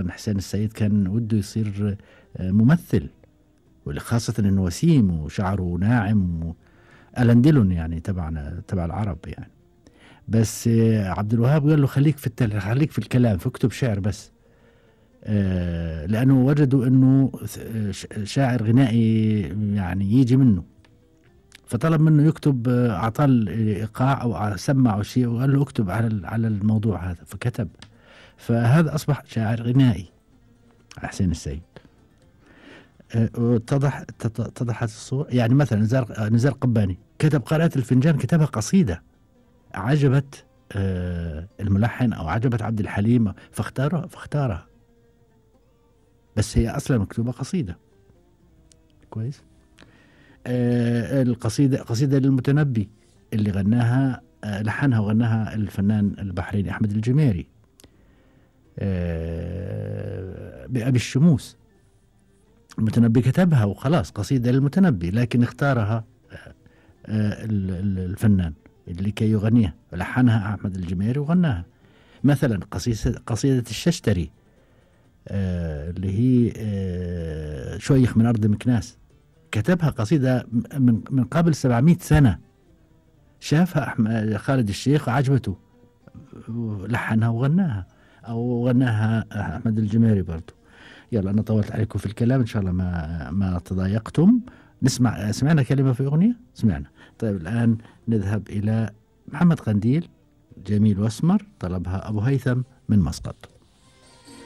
طبعا حسين السيد كان وده يصير ممثل، وخاصة انه وسيم وشعره ناعم، ألان ديلون يعني تبع العرب يعني. بس عبد الوهاب قال له خليك في الكلام، فاكتب شعر بس. لأنه وجدوا أنه شاعر غنائي يعني يجي منه، فطلب منه يكتب. أعطاه الإيقاع أو سمعه شيء وقال له اكتب على الموضوع هذا، فكتب. فهذا أصبح شاعر غنائي حسين السيد. اتضحت الصورة. يعني مثلا نزار قباني كتب قارئة الفنجان، كتبها قصيدة عجبت الملحن أو عجبت عبد الحليم فاختارها، بس هي أصلا مكتوبة قصيدة. كويس. قصيدة للمتنبي اللي غناها لحنها وغناها الفنان البحريني أحمد الجميري، بأبي الشموس. المتنبي كتبها وخلاص قصيدة للمتنبي، لكن اختارها الفنان اللي كي يغنيها، لحنها أحمد الجميري وغناها. مثلا قصيدة الششتري اللي هي شويخ من أرض مكناس، كتبها قصيدة من قبل 700 سنة، شافها خالد الشيخ وعجبته، لحنها وغناها، أو غناها أحمد الجميري برضو. يلا أنا طولت عليكم في الكلام، إن شاء الله ما تضايقتم. سمعنا كلمة في أغنية؟ سمعنا. طيب الآن نذهب إلى محمد قنديل، جميل واسمر، طلبها أبو هيثم من مسقط.